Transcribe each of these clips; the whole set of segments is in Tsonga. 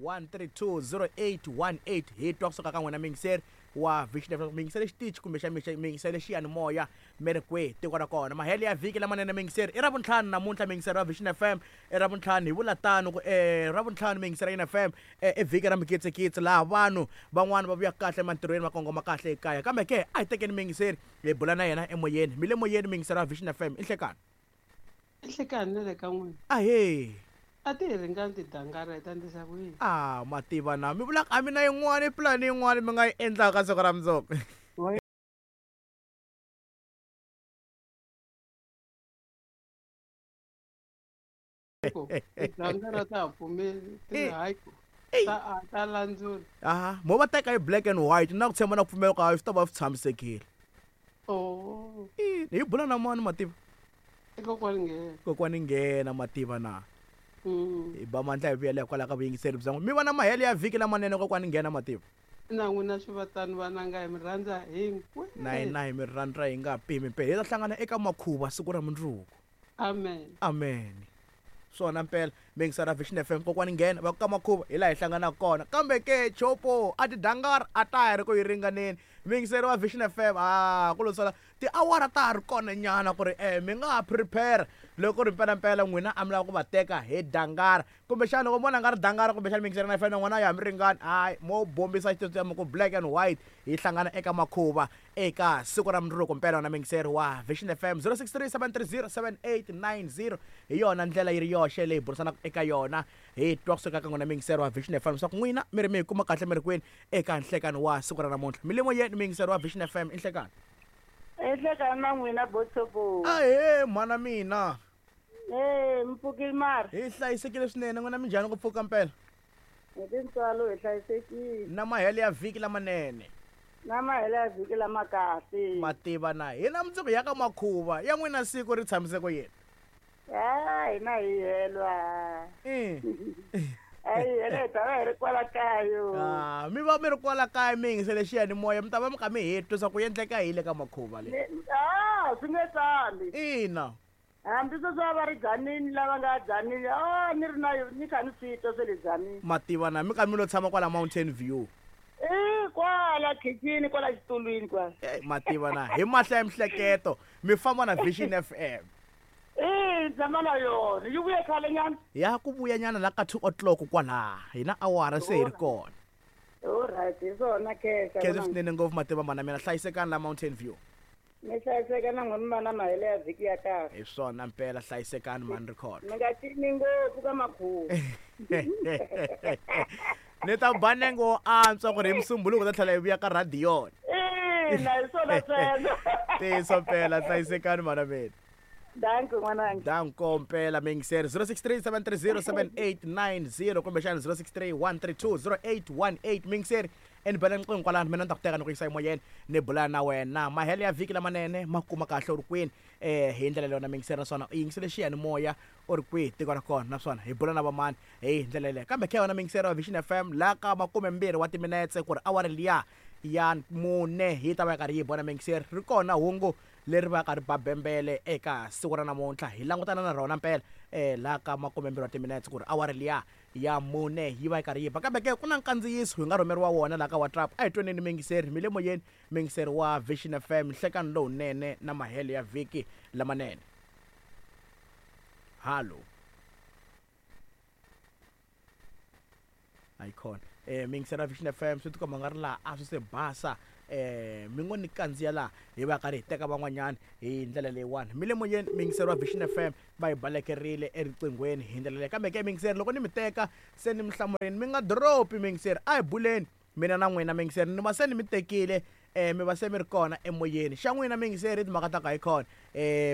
1320818 hi twa kusuka ka n'wina miyingiseri wa Vision FM miyingiseri xitichi kumbe xa miyingiseri xiyanimoya mi ri kwihi tiko ra kona mahelo ya vhiki lamanene miyingiseri i ravuntlhanu namuntlha miyingiseri wa Vision FM i ravuntlhanu hi vula tano ku ravuntlhanu miyingiseri ya FM i vhiki ra mikitsikitsi laha vanhu van'wana va vuya kahle emantirhweni va kongoma kahle ekaya kambe ke a hi tekeni miyingiseri hi bula na yena emoyeni mi le moyeni miyingiseri wa Vision FM i nhlekani. Nhlekani na le ka n'wina. Ahee. A ti hi ringani tidangara hi ta endlisa ku yini? Ah, ma tiva na mi vula a mi na yin'wana pulani yin'wana mi nga yi endlaka siku ra mundzuku. Tidangara ta ha pfumeli ti hayi ku ta ta landzula. Aha, mo va teka hi black and white na ku tshemba na ku pfumela ku swi ta va swi tshamisekile. Oh. Hi bula na mani mativa? I kokwani nghena. Kokwani nghena mativa na. Mm. Hi ba mandla hi vuyela hikwalaho ka vuyingiseri bya n'wina. Mi va na mahelo ya vhiki lamanene kokwani nghena mativa. Na n'wina swi va tano vananga hi mi rhandza hinkwenu. Na hina hi mi rhandza hi nga pimi mpela. Hi ta hlangana eka makhuva siku ra mundzuku. Amen. Amen. Swona mpela miyingiseri Vision FM kokwani nghena va ku ka makhuva hi laha hi hlanganaka kona kambe ke chopo a tidangara a ta ha ri ku yi ringaneni miyingiseri wa Vision FM a ku lo sala tiawara ta ha ri kona nyana ku ri mi nga ha prepare loko ku ri mpelampela n'wina a mi lava ku va teka hi dangara kumbexana loko mo vona nga ri dangara kumbexana miyingiseri na FM na n'wina ya ha mi ringani hayi mo bombisa xitsotsi mi ku black and white hi hlangana eka makhuva eka siku ra mundzuku mpela wena miyingiseri wa Vision FM 0637307890 hi yona ndlela yi ri yoxe leyi burisanaka eka yona hi twa kusuka ka n'wina miyingiseri wa Vision FM leswaku n'wina mi ri mi hi kuma kahle mi ri kwini eka nhlekani wa siku ra namuntlha mi le moyeni miyingiseri wa Vision FM i nhlekani. I nhlekani na n'wina Botsopo. Ahee mhana mina. Ee mi pfukile mara. Hi hlayisekile swinene n'wina minjhani ku pfuka mpela. Hi tintswalo hi hlayisekile. Na mahelo ya vhiki lamanene. Na mahelo ya vhiki lama kahle. Mativa na hina mundzuku ya ka makhuva ya n'wina siku ri tshamise ku yini? Ah, hina hi helwa. A hi hela hi ta va hi ri kwala kaya. Ah, mi va mi ri kwala kaya mi yingisele xiyanimoya mi ta va mi kha mi hi twa swa ku endleka yini le ka makhuva le. Ah, swi nge tsali. Ina. Hambi sweswi a va ri Dzanini lava nga Dzanini, a ni ri na ni kha ni swi twa swa le Dzanini. Mativa na mi kha mi lo tshama kwala Mountain View. I kwala khichini kwala xitulwini kwala. Mativa na hi mahlo ya mihleketo mi famba na Vision FM. I tshama na yona yi vuye khale nyana. Ya ku vuya nyana la ka 2 o'clock kwala hi na awara se hi ri kona. All right, hi swona khensa. Khensa swinene ngopfu mativa mana mina hlayisekani la Mountain View. Mi hlayiseka na n'wina mi va na mahelo ya vhiki ya kahle. Hi swona mpela hlayisekani mhani Rikhotso. Mi nga cini ngopfu ka makhuva. Ni ta ba nenge wo antswa ku ri hi Musumbhunuko hi ta tlhela hi vuya ka rhadiyoni. Ina hi swona sweswo. Ntiyiso mpela hlayisekani mhana mina. Danko n'wananga. Danko mpela miyingiseri 0637307890 kumbexana 0631320818 miyingiseri e ni bela riqingho kwalano mina ni ta ku teka ni ku yisa emoyeni ni bula na wena mahelo ya vhiki lamanene ma kuma kahle u ri kwini um hi ndlela leyo na miyingiseri naswona u yingisele xiyanimoya u ri kwihi tiko ra kona naswona hi bula na vamani hi ndlela yeleyo kambe khe wena miyingiseri wa Vision FM la ka makumembirhi wa timinetse ku ri awara liya ya mune yi ta va yi karhi yi bona miyingiseri ri kona hungu leri va ka ri ba bembele eka siku ra namuntlha hi langutana na rona mpela um laha ka makumembirhi wa timinetse ku ri awara liya ya mune yi va yi karhi yi ba kambe ke ku na nkandziyiso hi nga rhumeriwa wona laha ka WhatsApp a hi tweneni miyingiseri mi le moyeni miyingiseri wa Vision FM nhlekani lowunene na mahelo ya vhiki lamanene hallo ayikhona miyingiseri wa Vision FM swi tikomba nga ri laha a swi se basa mi ngo ni kandziya laha hi va karhi hi teka van'wanyana hi ndlela leyiwani mi le moyeni miyingiseri wa Vision FM va hi balekerile eriqinghweni hi ndlela leyi kambe ke miyingiseri loko ni mi teka se ni mi hlamurini mi nga drop-i miyingiseri a hi buleni mina na n'wina miyingiseri ni va se ni mi tekile mi va se mi ri kona emoyeni xa n'wina miyingiseri timhaka ta ka hi khona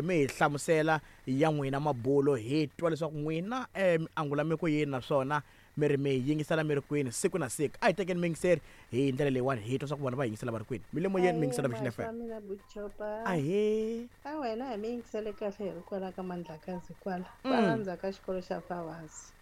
mi hi hlamusela ya n'wina mabulo hi twa leswaku n'wina mi angula mi ku yini naswona mi ri mi yingisela mi ri kwini siku na siku a hi tekeni miyingiseri hi ndlela leyiwani hi twa swa ku vona va yingisela va ri kwini mi le moyeni miyingisela Vision FM mina Buchopa ahee a wena hi mi yingisele kahle hi ri kwala ka Mandlakazi kwala kwala ndzhaku ka xikolo xa Fawasi.